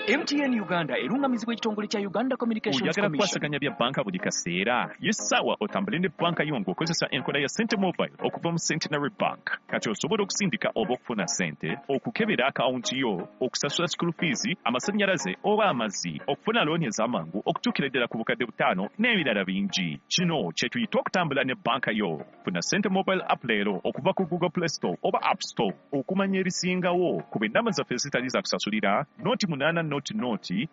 MTN Uganda erungamizibwa ekitongole kya Uganda Communications Oyagala Commission. Kukwasaganya bya banka buli kaseera? Y'essaawa otambule ne banka yo ng'okozesa enkola ya Sente Mobile okuva mu Centenary Bank. Kati osobola okusindika oba okufuna ssente, okukebera akawunti yo, okusasula school fees, amasannyalaze oba amazzi, okufuna looni ez'amangu okutuukira ddala ku 5,000 n'ebirala bingi. Kino kye tuyita okutambula ne banka yo. Funa Sente Mobile app leero okuva ku Google Play Store oba App Store. Okumanya ebisingawo kuba ennamba zaffe ezitali za kusasulira 080 0 20 0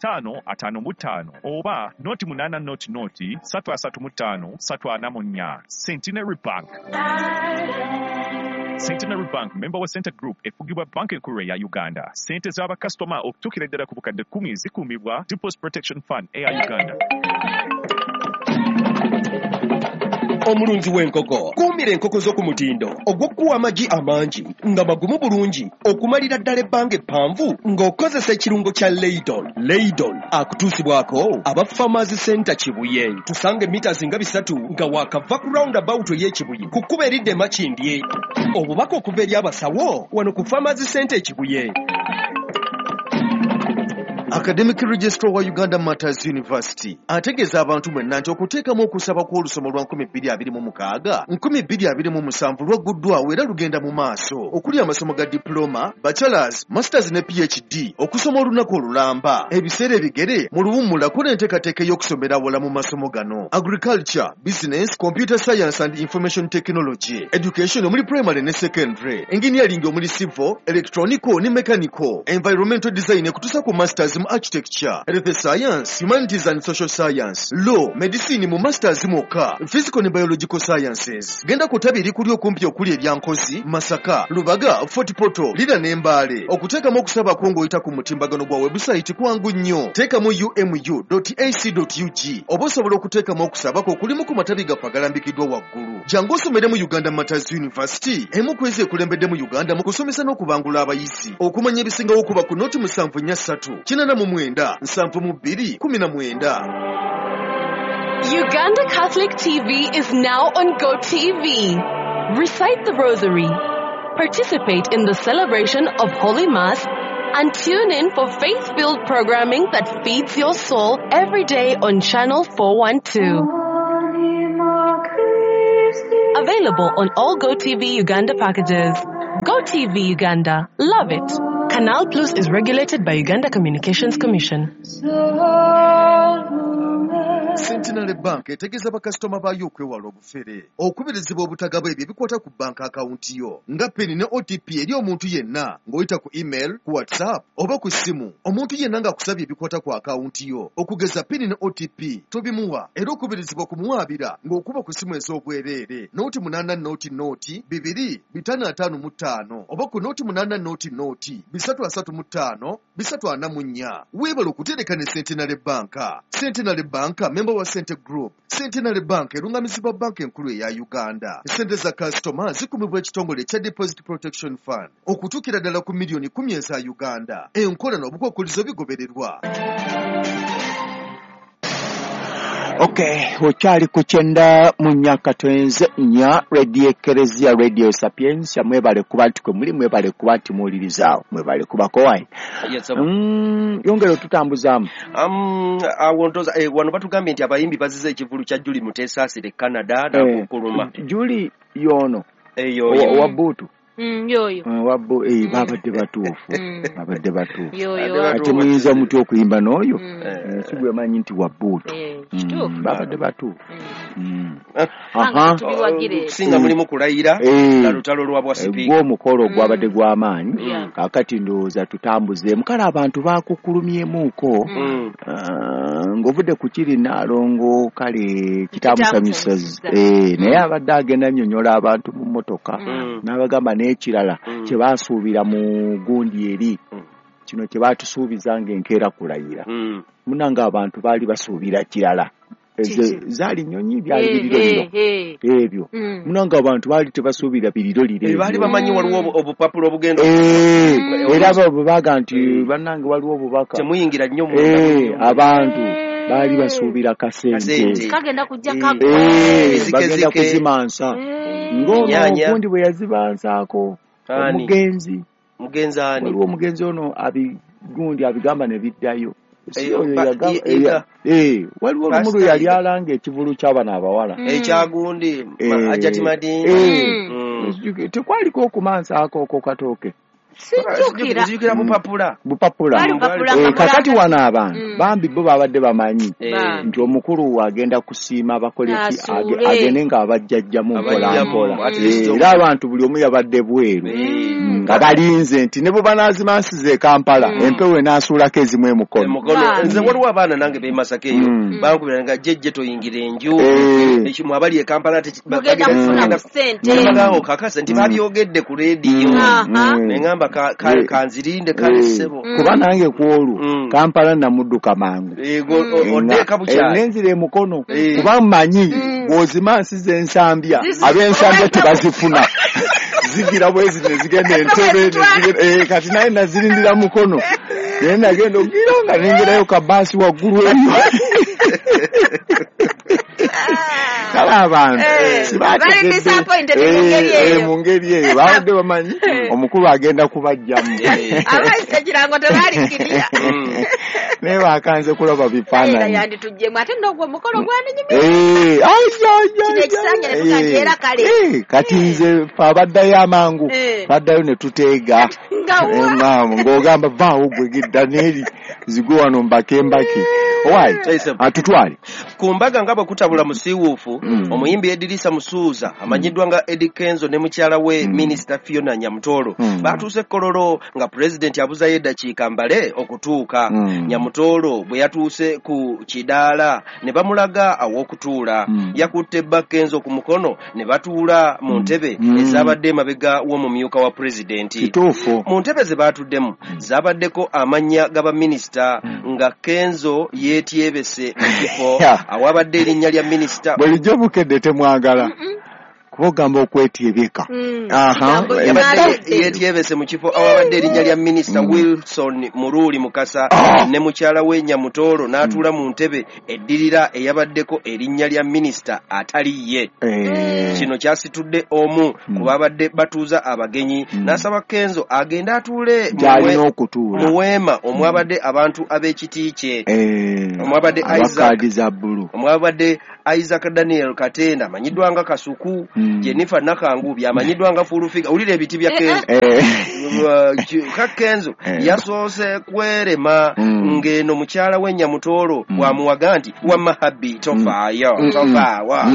5 55 oba 080 0 3 35 344. Centenary Bank. Centenary Bank, member wa Center Group, efugibwa banka enkulu eya Uganda. Ssente z'abakasitoma okutuukira ddala ku 10,000 zikuumibwa Deposit Protection Fund eya Uganda. Omulunzi w'enkoko, kuumira enkoko zo ku mutindo ogw'okuwa amagi amangi nga magumu bulungi okumalira ddala ebbanga eppanvu ng'okozesa ekirungo kya Leidol. Leidol akutuusibwako aba Farmers Center Kibuye. Tusanga emita nga 3 nga waakava ku roundabout ey'Ekibuye ku kkubo eridda e Makindye. Obubaka okuva eri abasawo wano ku Farmers Center Ekibuye. Academic Registrar wa Uganda Martyrs University ategeeza abantu mwenna nti okuteekamu okusaba kw'olusoma lwa 2026 2027 lwagguddwawo era lugenda mu maaso, okuli amasomo ga diploma, bachelors, masters ne PhD, okusoma olunaku olulamba, ebiseera ebigere, mu luwummula, kola enteekateeka ey'okusomera awala mu masomo gano: agriculture, business, computer science and information technology, education omuli primary ne secondary, engineering omuli civil, electronical ne mechanical, environmental design ekutuusa ku masters mu architecture, health science, humanities and social science, law, medicine mu masters mwokka, physical ne biological sciences. Genda ku ttabi erikuli okumpi okuli erya Nkozi, Masaka, Lubaga, Fort Portal, Lira ne Mbale. Okuteekamu okusaba kwo ng'oyita ku mutimbagano gwa website kwangu nnyo. Teekamu umu.ac.ug oba osobola okuteekamu okusaba kwo okulimu ku matabi gaffe agalambikiddwa waggulu. Jangu osomere mu Uganda Martyrs University, emu ku ezo ekulembedde mu Uganda mu kusomesa n'okubangula abayizi. Okumanya ebisingawo kuba ku 073 89 72 19. Uganda Catholic TV is now on GoTV. Recite the Rosary, participate in the celebration of Holy Mass, and tune in for faith-filled programming that feeds your soul every day on Channel 412. Available on all GoTV Uganda packages. GoTV Uganda. Love it. Canal Plus is regulated by Uganda Communications Commission. Centenary Bank etegeeza bakasitoma baayo okwewala obufere, okubirizibwa obutagaba ebyo ebikwata ku banka akawunti yo nga PIN ne OTP eri omuntu yenna ng'oyita ku email, ku WhatsApp oba ku ssimu. Omuntu yenna ng'akusabye ebikwata ku akawunti yo okugeza PIN ne OTP tobimuwa, era okubirizibwa okumuwaabira ng'okuba ku ssimu ez'obwereere 080 0 2 555 oba ku 080 0 335 344. Weebale okutereka ne Centenary Bank. Centenary Bank, member wa Sente Group. Centenary Bank erungamizibwa banka enkulu eya Uganda. Sente za kasitoma zikumibwa ekitongole ekya Deposit Protection Fund okutuukira ddala ku miliyoni 10 eza Uganda. Enkola n'obukwakkulizo bigobererwa. Okay, okyali ku 94.4 Radio Ekereziya, Radio Sapientia. Mwebale kuba nti kwe muli, mwebale kuba nti muwulirizaawo, mwebale kubako wine. Yes, sir. Yongera otutambuzaamu. Awo ntoza wano batugambye nti abayimbi bazize ekivulu kya Juli Mutesaasira e Canada nakukuluma. Juli yono Eyo owa buutu. Yoyo. Babadde batuufu, babadde batuufu. Yoyo. Ate muyinza mutya okuyimba n'oyo? Mm. Si gwe manyi nti wa buutu. Kituufu. Babadde batuufu. Kubanga tubiwagire. Singa mulimu kulayira na lutalo lwa bwa sipiika. Gw'omukolo gwabadde gw'amaanyi. Kaakati ndowooza tutambuzeemu, kale abantu bakukulumyemuuko. Ng'ovudde ku kiri Naalongo, kale kitamusanyusa. Kitamusanyusa. Naye abadde agenda annyonnyola abantu mu mmotoka n'abagamba n'ekirala kye baasuubira mu gundi eri kino kye baatusuubiza ng'enkeera kulayira. Munange abantu baali basuubira kirala. Ezo Kiki? zaali nnyonyi, byali biriroliro ebyo. Munange abantu baali tebasuubira biriroliro Baali ebyo. bamanyi waliwo obupapula obugenda Era bo bwe baga nti bannange waliwo obubaka temuyingira nnyo mu abantu baali basuubira kasente. Kasente. Kagenda kujja kagwa. Ezike Bagenda zike. kuzimansa ng'ono Ennyaanya. ogundi bwe yazibansaako. Ani? Omugenzi. Mugenzi ani? Waliwo omugenzi ono abi gundi abigamba ne biddayo. Si oyo yagamba waliwo olumu lwe yali alanga ekivulu ky'abana abawala ekyagundi Hajati Madina. Tekwaliko okumansaako okwo katooke. Sijjukira bupapula. Kakati wano abantu bambi bo babadde bamanyi nti omukulu agenda kusiima abakole ki, agende ng'abajjajjamu mpola mpola. Era abantu buli omu yabadde bweru nga balinze nti ne bwe banaazimansiza e Kampala empewo enaasuulako ezimu emukono. Nze waliwo abaana nange b'e Masaka eyo bankubira nga jjejje toyingira enju ekimu abali e Kampala mugenda kufuna ssente. Bagamba kakasa nti babyogedde ku leediyo ne kanzirinde kale ssebo. Kuba nange ku olwo Kampala namudduka mangu nenzira emukono kuba mmanyi bw'ozimansiza ensambya ab'ensambya tebazifuna zigira bwezi ne zigenda Entebbe kati naye nazirindira mukono naye nagenda ogira nga nengerayo kabaasi waggulu eyo. Kale abantu sibategedde mu ngeri eyo babadde bamanyi omukulu agenda kubajjamu. Abaise kirango tebalikirya. Naye bakanze kulaba bifaananyi. Yandituggyemu ate n'ogwo omukolo gwandinyumira. Kino ekisanja ne tugamba era kale. Kati nze ffe abaddayo amangu baddayo ne tuteega. Ng'ogamba vaawo gwe gidda n'eri zigwe wano mbake mbake. Owaayi atutwale. Ku mbaga nga bwe kutabula musiiwuufu omuyimbi Edirisa Musuuza amanyiddwa nga Eddy Kenzo ne mukyala we Minisita Fiona Nyamutoro batuuse Kololo nga pulezidenti abuzayo eddakiika mbale okutuuka. Nyamutoro bwe yatuuse ku kidaala ne bamulaga aw'okutuula. Yakutte bba Kenzo ku mukono ne batuula mu ntebe ezabadde emabega w'omumyuka wa pulezidenti. Kituufu. Mu ntebe ze baatuddemu zabaddeko amannya g'abaminisita nga Kenzo yeetyebese mu kifo awabadde erinnya lya minisita. Bulijjo Bukedde temwagala kuba ogamba okwetyebeka. Yabadde yeetyebese mu kifo awabadde erinnya lya minisita Wilson Muruli Mukasa ne mukyala we Nyamutoro n'atuula mu ntebe eddirira eyabaddeko erinnya lya minisita atali ye. Kino kyasitudde omu ku babadde batuuza abagenyi n'asaba Kenzo agende atuule mu weema omwabadde abantu ab'ekiti kye omwabadde Isaac Daniel Katenda amanyiddwa nga Kasuku, Jennifer Nakangubi amanyiddwa nga Full Figure. Wulira ebiti bya Kenzo. Kenzo yasoose kwerema ng'eno mukyala we Nyamutoro bw'amuwaga nti wamma habbi tofaayo tofaawa.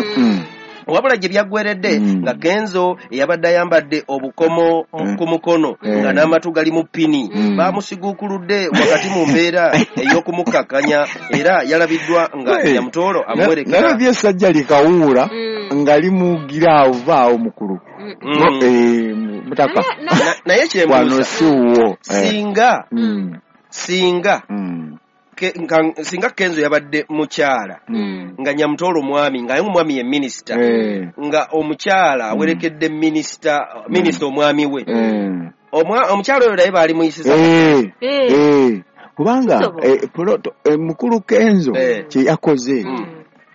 Wabula gye byaggweredde nga Kenzo eyabadde ayambadde obukomo ku mukono nga n'amatu gali mu ppini baamusiguukuludde wakati mu mbeera ey'okumukakkanya era yalabiddwa nga Nyamutoro amuwerekera. Nalabye essajja likawuula nga limugira awo vaawo mukulu mutaka. Naye kyembuuza siwo singa singa Kenzo yabadde mukyala nga Nyamutoro mwami nga omwami ye minisita nga omukyala awerekedde minisita omwami we omukyala oyo naye baali muyisiza kubanga mukulu Kenzo kye yakoze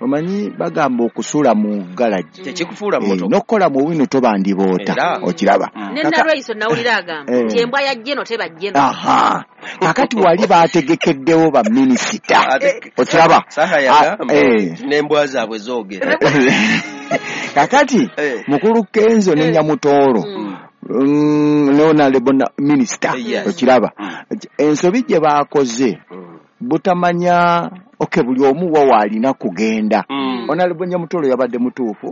omanyi bagamba okusula mu garage tekikufuula mmotoka n'okukola mu wino tobandiboota okiraba. Ne Nalweyiso nawulira agamba nti embwa ya Jeno teba Jeno. Aha, kakati wali baategekeddewo baminisita okiraba. Saha yagamba n'embwa zaabwe zoogera. Kakati mukulu Kenzo ne Nyamutoro ne honorable minisita okiraba ensobi gye baakoze butamanya. Okay, buli omu wa waalina kugenda. Honorable Nyamutoro yabadde mutuufu.